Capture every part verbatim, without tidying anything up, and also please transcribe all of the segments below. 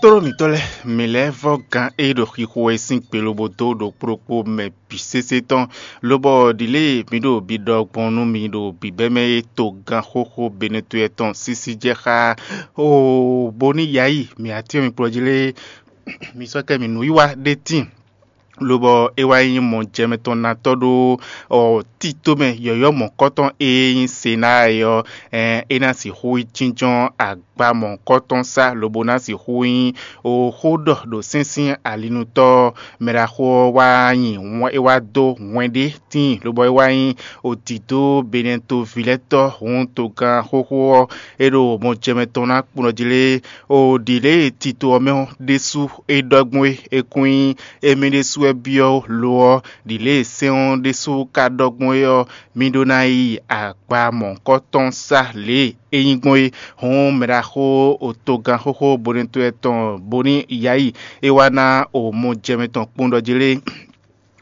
Tlóló mǐtɔn lɛ́ɛ, mǐ lɛ́ vɔ́ gán e ɖo xixo wɛ sín gbe lobo dó ɖokpó ɖokpó mɛ bǐ sésé tɔn, lobɔ ɖǐlée mǐ ɖo biɖɔ gbɔn nú mi ɖo bǐbɛ́mɛ e togán xóxó Benetɔ́ tɔn sísí jɛ xá. Oo, bónú yayi mǐ atín mi kplɔ́ jí lé, mi sɔ́ kɛ mǐ nǔwiwa ɖé tíin, lobɔ é wá nyí mɔjɛmɛtɔ́natɔ́ ɖó ɔ, tito mɛ yɔ̌yɔ́ mɔ̌kɔtɔn e nyí Senáa é ɔ́, é ná sixú yi jínjɔ́n agba mɔ̌kɔtɔn sá, lobo ná sixú nyí oxó ɖɔ ɖo sɛ́nsɛ́n alinutɔ́ mɛɖaxó ɔ́ wá nyi é wá dó hwɛn ɖé tíin, lobɔ é wá nyí odǐdó Benɛtovilɛ́tɔ́ hǔn togán xóxó ɔ́, é ɖo mɔjɛmɛtɔn ná kplɔ́ jí lé. O ɖǐ lě e tito ɔ́ mɛ ɔ́ ɖésú é ɖɔ gbɔn é, é kún nyí émí ɖésú wɛ byɔ́ lo ɔ́, ɖǐ lě e sɛ́n ɔ́ ɖésú ka ɖɔ gbɔn é ɔ́, mi ɖó ná yi agba mɔ̌hunkɔtɔn sá lě e é nyí gbɔn é. Hǔn mɛɖaxó otogán xóxó Bonɛtɔ́ tɔn Boni Yayi é wá ná o mɔjɛmɛ tɔn kpɔ́n ɖɔ jí lé.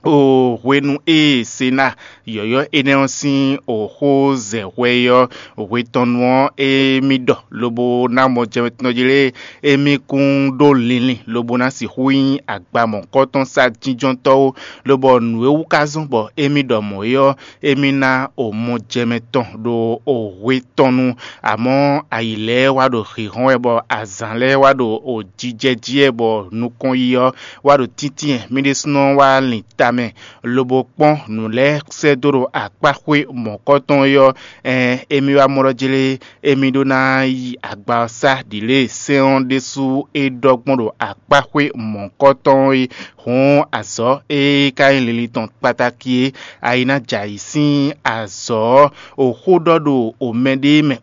O hwenu e Sena yɔ̌yɔ́ énɛ́ ɔ́ sín oxó zɛ hwɛ é ɔ́, hwe tɔn nu ɔ́, émí ɖɔ lobo ná mɔ jɛmɛ tɔn jí lé, émí kún ɖó linlin lobo ná sixú nyí agba mɔ̌hunkɔtɔn sá jínjɔ́ntɔ́ ó, lobɔ nǔ e wú ka zɔ́n bɔ émí ɖɔ mɔ̌ é ɔ́, émí ná o mɔ jɛmɛ tɔn ɖo o hwe tɔn nu. Amɔ̌, ayǐ lɛ́ɛ wá ɖo hǐnhɔ́n wɛ, bɔ azǎn lɛ́ɛ wá ɖo o jijɛ jí wɛ, bɔ nukɔn yi ɔ́ wá ɖo tíntín wɛ. Mì ɖésúnɔ wá lin tamɛ, lobo kpɔ́n nǔ lɛ́ɛ sɛ́ dó ɖo akpáxwé mɔ̌kɔtɔn é ɔ́, ɛn émí wá mɔ ɖɔ jlé émí ɖó ná yi agba ɔ́ sá ɖǐ lě e sɛ́n ɔ́ ɖésú é ɖɔ gbɔn ɖo akpáxwé mɔ̌kɔtɔn é. Hǔn azɔ̌ e ka nyí linlin tɔn kpatáki é, ayi ná jɛ ayǐ sín azɔ̌ ɔ́, o xó ɖɔ ɖo o mɛɖée mɛ,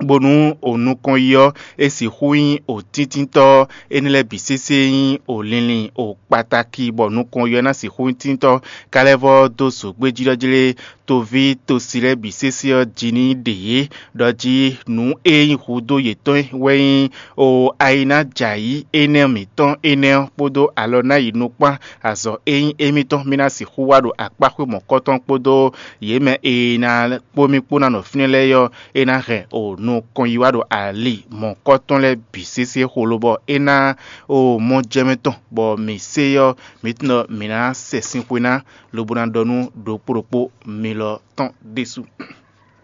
bónú o nukɔn yi ɔ́, é sixú nyí o tíntítɔ́. Énɛ́ lɛ́ɛ bǐ sésé nyí o linlin o kpatáki, bɔ nukɔn yi ɔ́ ná sixú nyí tíntɔ́. Ka lɛ́ vɔ́ dó zǒgbéjí ɖɔ jlé, toví tosi lɛ́ɛ bǐ sésé ɔ́ jí ní ɖe yě, ɖɔ jí nǔ e nyí hudó yětɔn wɛ nyí o ayi ná jɛ ayǐ énɛ́ mǐtɔn énɛ́ ɔ́ kpódó alɔ ná yi nukpán azɔ̌ e nyí émítɔn, mì ná sixú wá ɖo akpáxwé mɔ̌kɔtɔn kpódó yě mɛ e ná kpó mì kpó ná nɔ fínɛ́ lɛ́ɛ ɔ́, é ná hɛn o nukɔn yi wá ɖo ali mɔ̌kɔtɔn lɛ́ɛ bǐ sésé xo, lobɔ é ná o mɔ jɛmɛ tɔn, bɔ mǐ sé ɔ́, mǐ tunɔ mǐ ná sɛ sin xwe ná, lobo ná ɖɔ nú ɖokpó ɖokpó mi lɔ tɔn ɖésú.